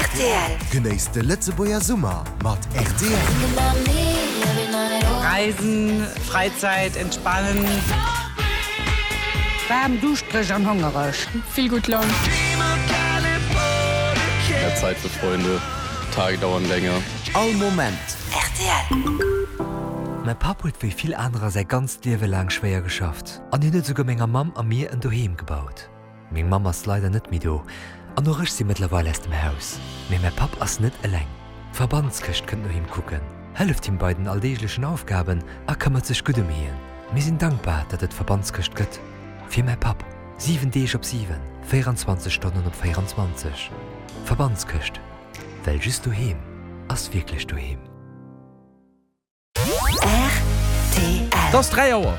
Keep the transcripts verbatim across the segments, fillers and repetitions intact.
Rtl. Genéisst de Lëtzebuerger Summer mat rtl. Reisen, Freizeit, entspannen. Waarm, duuschtereg an hongereg. Vill gutt Laun. Mehr Zeit für Freunde, Tage dauern länger. All Moment. Rtl. Mäi Papp huet wéi vill anerer säi ganzt Liewe laang schwéier geschafft an hien huet souguer menger Mamm a mir en Doheem gebaut. Meng Mamm ass leider net méi do an och ech si mëttlerweil aus dem Haus. Mee mäi Papp ass net eleng. D'Verbandskëscht kënnt no him kucken, hëlleft him bei den alldeeglechen Aufgaben a këmmert sech gutt ëm hien. Mir sinn dankbar, datt et d'Verbandskëscht gëtt. Fir mäi Papp, siwen Deeg op siwen, véierenzwanzeg Stonnen op véierenzwanzeg. Verbandskëscht, well just doheem ass wierklech doheem. Rtl. Et ass dräi Auer.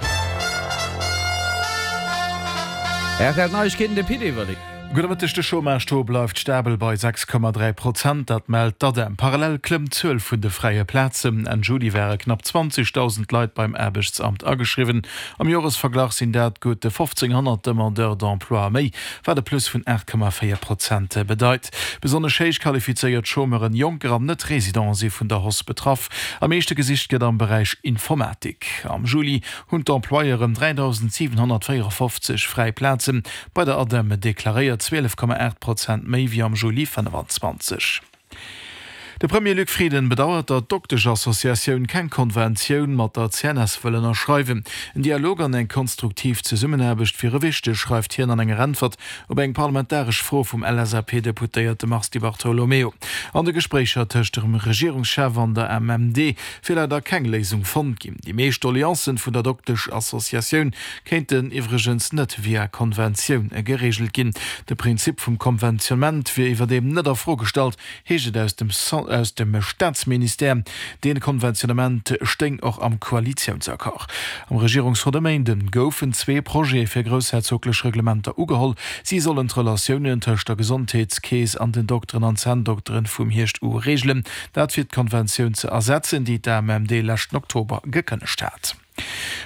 Rtl Neiegkeeten, de Pit Everling. Gudde Mëtteg, De Chômage-Taux bleift stabel bei sechs Komma dräi Prozent, dat mellt d'ADEM. Parallel klëmmt d'Zuel vun de fräie Plazen. Enn Juli ware knapp zwanzegdausend Leit beim Aarbechtsamt ageschriwwen. Am Joresverglach sinn dat gutt fofzénghonnert Demandeurs d'emploi méi, wat e Plus vun aacht Komma véier Prozent bedeit. Besonnesch héich qualifizéiert Chômeuren, Jonker an Net-Residenten si vun der Hausse betraff. Am meeschte gesicht gëtt am Beräich Informatik. Am Juli hunn d'Employeuren dräidausendsiwenhonnertvéierefofzeg fräi Plaze bei der ADEM deklaréiert, zwielef Komma aacht Prozent méi wéi am Juli fënnefenzwanzeg. De Premier Luc Frieden bedauert, datt d'Dokteschassociatioun keng Konventioun mat der C N S wëll ënnerschreiwen. En Dialog an eng konstruktiv Zesummenaarbecht wiere wichteg, schreift hien an enger Äntwert op eng parlamentaresch Fro vum L S A P-Deputéierte Mars Di Bartolomeo. An de Gespréicher tëscht dem Regierungschef an der M M D wier leider keng Léisung fonnt ginn. Déi meescht Doleancen vun der Dokteschassociatioun kéinten iwwregens net via Konventioun gereegelt ginn. De Prinzip vum Konventionnement wier iwwerdeem net a Fro gestallt, heescht et aus dem aus dem Staatsministère. Dee Konventionnement stéing och am Koalitiounsaccord. Am Regierungsrot e Méinde goufen zwee Projete fir groussherzoglech Reglementer ugeholl. Si sollen d'Relatiounen tëscht der Gesondheetskeess an den Dokteren an Zänndokteren vum Hierscht u reegelen. Dat fir d'Konventioun ze ersetzen, déi d'A M M D leschten Oktober gekënnegt hat.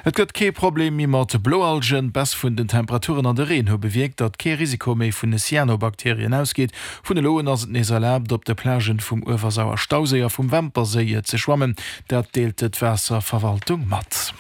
Et gëtt kee Problem méi mat Bloalgen. D'Baisse vun den Temperaturen an de Reen hu bewierkt, datt kee Risiko méi vun Cyanobakterien ausgeet. Vun elo un ass et nees erlaabt, op de Plagen vum Uewersauer Stauséi a vum Wämperséi ze schwammen. Dat deelt d'Waasserverwaltung mat.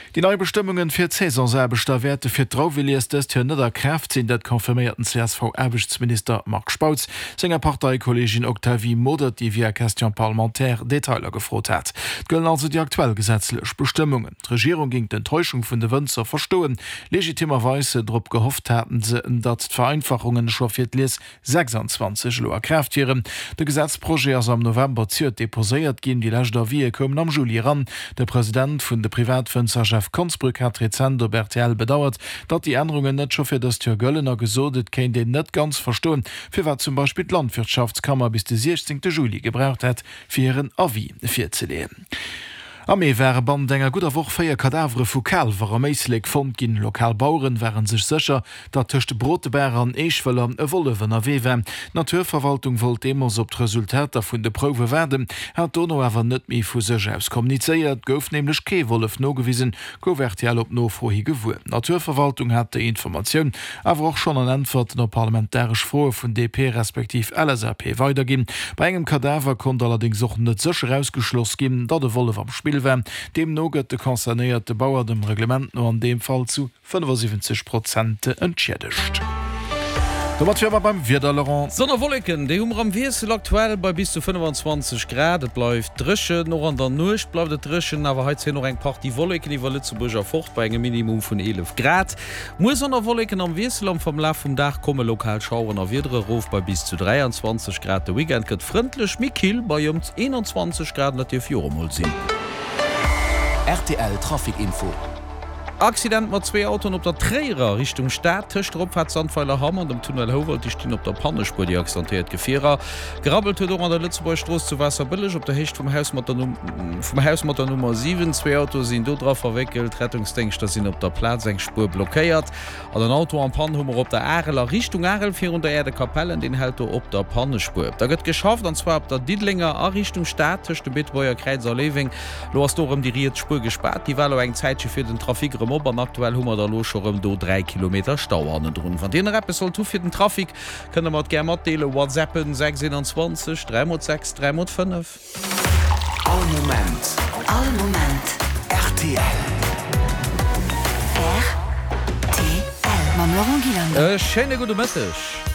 Déi nei Bestëmmungen fir d'Saisonsaarbechter wäerte fir d'Drauwelies dëst Joer net a Kraaft sinn. Dat confirméiert den C S V-Aarbechtsminister Marc Spautz senger Parteikolleegin Octavie Modert, déi via Question parlementaire Detailer gefrot hat. Et gëllen also déi aktuell gesetzlech Bestëmmungen. D'Regierung géing d'Enttäuschung vun de Wënzer verstoen. Legitimerweis drop gehofft haten se, datt d'Vereinfachungen scho fir d'Lies sechsanzwanzeg elo a Kraaft wieren. De Gesetzprojet ass am November zejoert deposéiert ginn, déi lescht Avisë koumen am Juli eran. De President vun de Privatwënzer Jeff Konsbrück hat rezent op R T L bedauert, datt déi Ännerungen net scho fir dëst Joer gëllen a gesot, et kéint een net ganz verstoen, firwat zum Beispill d'Landwirtschaftskammer bis de siechzéngte Juli gebraucht hätt, fir hiren Avis virzeleeën. Am Mee ware bannent enger gudder Woch véier Kadavere vu Kaalwer am Éislek fonnt ginn. Lokal Baueren ware sech sécher, datt tëscht Brotebaach an Eeschwëller e Wollef ënnerwee war. D'Naturverwaltung wollt deemools op d'Resultater vun de Prouwe waarden, hat dono awer net méi vu sech aus kommunizéiert. Gouf nämlech kee Wollef nogewisen, gouf R T L op Nofro hi gewuer. D'Naturverwaltung hat déi Informatioun awer och schonn an Äntwerten op parlamentaresch Froe vun D P respektiv L S A P weiderginn. Bei engem Kadaver konnt allerdéngs och net sécher ausgeschloss ginn, datt e Wollef am Spill war. Deemno gëtt de concernéierte Bauer dem Reglement no an deem Fall zu fënnefasiwwenzeg Prozent entschiedegt. Domat wiere mer beim Wieder, Laurent. Sonn a Wolleken, déi hu mer am Wiessel, aktuell bei bis zu fënnefenzwanzeg Grad. Et bleift dréchen, och an der Nuecht bleift et dréchen, awer hei zéien och eng Partie Wolleken iwwer Lëtzebuerg erfort bei engem Minimum vun eelef Grad. Muer Sonn a Wolleken am Wiessel, am Verlaf vum Dag komme lokal Schaueren a Wiedere erof bei bis zu dräianzwanzeg Grad. De Weekend gëtt frëndlech, méi kill bei ëm eenanzwanzeg Grad, dat dierf jo och emol sinn. R T L Trafic Info. Accident mat zwee Autoen op der Tréierer Richtung Stad, tëscht der Opfaart Sandweiler-Hamm an dem Tunnel Houwald. Déi stinn op der Pannespuer, déi accidentéiert Gefierer. Gerabbelt huet och an der Lëtzebuerger Strooss zu Waasserbëlleg op der Héicht vum Haus mat der vum Haus mat der Nummer siwen. Zwee Autoe sinn do dra verwéckelt. D'Rettungsdéngschter sinn op der Plaz, eng Spuer blockéiert. An en Auto en Panne hu mer op der Arel a Richtung Arel virun der Aire de Capellen, deen hält do op der Pannespuer. Da gëtt geschafft, an zwar op der Diddelenger a Richtung Stad tëscht dem Beetebuerger Kräiz a Léiweng. Lo ass do erëm déi riets Spuer gespaart. Déi war lo eng Zäitche fir den Trafic erëm erëm op an aktuell hu mer da lo scho rëm do dräi Kilometer Stau hannendrun. Wann Dir nach eppes sollt hu fir den Trafic, kënnt der mer et gär matdeelen, Whatsappen sechs eenanzwanzeg dräi mol sechs dräi mol fënnef. All Moment. All Moment. Rtl. Rtl. Mam Laurent Gillander. E schéine gudde Mëtteg.